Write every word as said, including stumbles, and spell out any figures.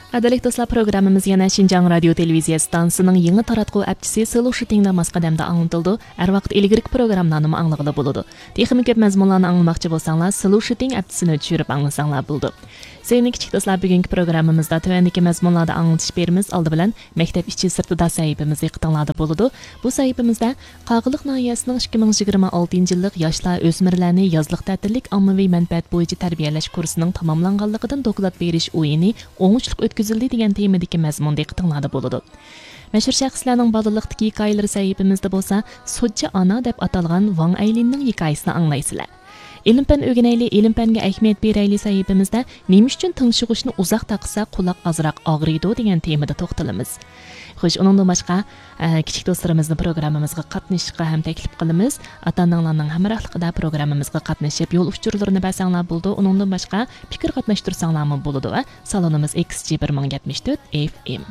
قەدىرلىك دوستلار، پروگراممىمىز يەنە شىنجاڭ رادىيو تېلېۋىزىيە ئىستانسىسىنىڭ يېڭى تاراتقۇ ئەپچىسى سلوشىتىڭدا ماس قەدەمدە ئاڭلىتىلىدۇ. ھەر ۋاقىت ئىلگىرىكى پروگراممىلارنىمۇ ئاڭلىغىلى بولىدۇ. تېخىمۇ كۆپ مەزمۇنلارنى ئاڭلىماقچى بولساڭلار، سلوشىتىڭ ئەپچىسىنى چۈشۈرۈپ ئاڭلىساڭلار بولىدۇ. سۆيۈملۈك كىچىك دوستلار، بۈگۈنكى پروگراممىمىزدا تۆۋەندىكى مەزمۇنلاردا ئاڭلىتىش بېرىمىز. ئالدى بىلەن مەكتەپ ئىچى سىرتىدا سەھىپىمىز دىققىتىڭلاردا بولىدۇ. بۇ سەھىپىمىزدە قاغىلىق ناھىيەسىنىڭ ئىككى مىڭ يىگىرمە ئالتىنچى يىللىق ياشلار، ئۆسمۈرلەرنى يازلىق تەتىللىك ئاممىۋى مەنپەئەت بويىچە تەربىيەلەش كۇرسىنىڭ تاماملانغانلىقىدىن دوكلات بېرىش ئويۇنى ئوڭۇشلۇق ئۆتكۈزۈلدى دېگەن تېمىدىكى مەزمۇن دىققىتىڭلاردا بولىدۇ. مەشھۇر شەخسلەرنىڭ بالىلىقتىكى ھېكايىلىرى سەھىپىمىزدە بولسا، سوتچى ئانا دەپ ئاتالغان ۋاڭ ئەيلىننىڭ ھېكايىسىنى ئاڭلايسىلەر. ئىلىم-پەن ئۆگىنەيلى، ئىلىم-پەنگە ئەھمىيەت بېرەيلى سەھىپىمىزدە نېمە ئۈچۈن تىڭشىغۇچنى ئۇزاق تاقىسا قۇلاق ئازراق ئاغرىيدۇ دېگەن تېمىدا توختىلىمىز. خوش، ئۇنىڭدىن باشقا، ئە، كىچىك دوستلىرىمىزنى پروگراممىمىزغا قاتنىشىشقا ھەم تەكلىپ قىلىمىز. ئاتا-ئاناڭلارنىڭ ھەمراھلىقىدا پروگراممىمىزغا قاتنىشىپ، يول ئۇچۇرلىرىنى بەرسەڭلار بولىدۇ. ئۇنىڭدىن باشقا، پىكىر قاتناشتۇرساڭلارمۇ بولىدۇ. ۋە سالونىمىز ئېكس جى بىر مىڭ يەتمىش تۆت ئېف ئېم.